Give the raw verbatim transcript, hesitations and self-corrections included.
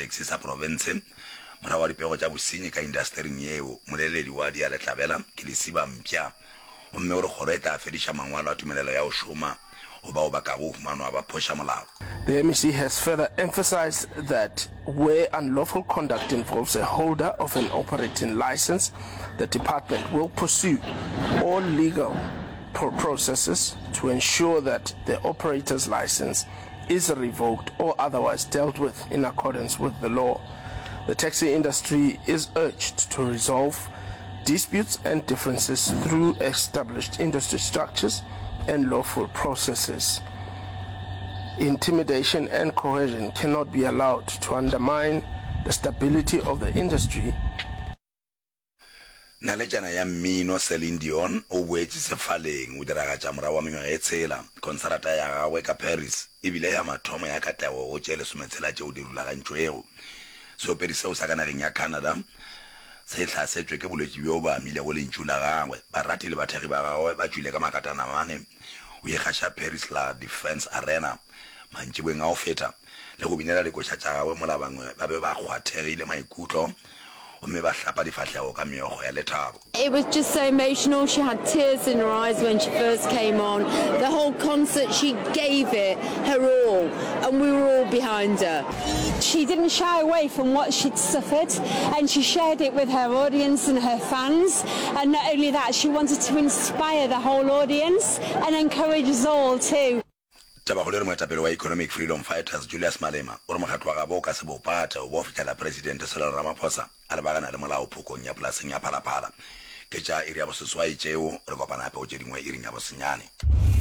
ditaxi sa profense morago ga dipego tša bosenyi ka indastering yeo. Mmoleledi wa Dialetlabela ke Lesiba Mpša gomme o re kgoro e tla fediša mangwalo a tumelelo ya go šoma go bao ba kago humanwa ba phoša molao. The M E C has further emphasized that where unlawful conduct involves a holder of an operating license, the department will pursue all legal processes to ensure that the operator's license is revoked or otherwise dealt with in accordance with the law. The taxi industry is urged to resolve disputes and differences through established industry structures and lawful processes. Intimidation and coercion cannot be allowed to undermine the stability of the industry. Naletšana ya mmino Celine Dion o boetše sefaleng o diragatša morago wa mengwaga e tshela. Konsarata ya gagwe ka Paris e bile ya mathomo ya katlego go tše lesometshela tšeo di rulagantšwego. Seopedi seo sa ka nageng ya Canada se hlasetšwe ke bolwetši bjo bo amilego lentšu la gagwe. Barati le bathekgi ba gagwe ba tšwile ka makatanamane go ikgaša Paris La Defense Arena mantšiboeng a go feta le go binela dikoša tša gagwe mola bangwe ba be ba kgwathegile maikutlo gomme ba hlapa difahlego ka meokgo ya lethabo. It was just so emotional, she had tears in her eyes when she first came on, the whole concert she gave it her all and we were all behind her. She didn't shy away from what she'd suffered and she shared it with her audience and her fans and not only that, she wanted to inspire the whole audience and encourage us all too. Tabakgolo e re moetapele wa Economic Freedom Fighters Julius Malema o re mokgatlo wa gabo o ka se bo pate go bo fihlela Presidente Cyril Ramaphosa a lebagana le molao phokong ya polaseng ya Phalaphala. Ke tša iri ya boseswai tšeo, re kopana gape go tše dingwe iring ya bosenyane.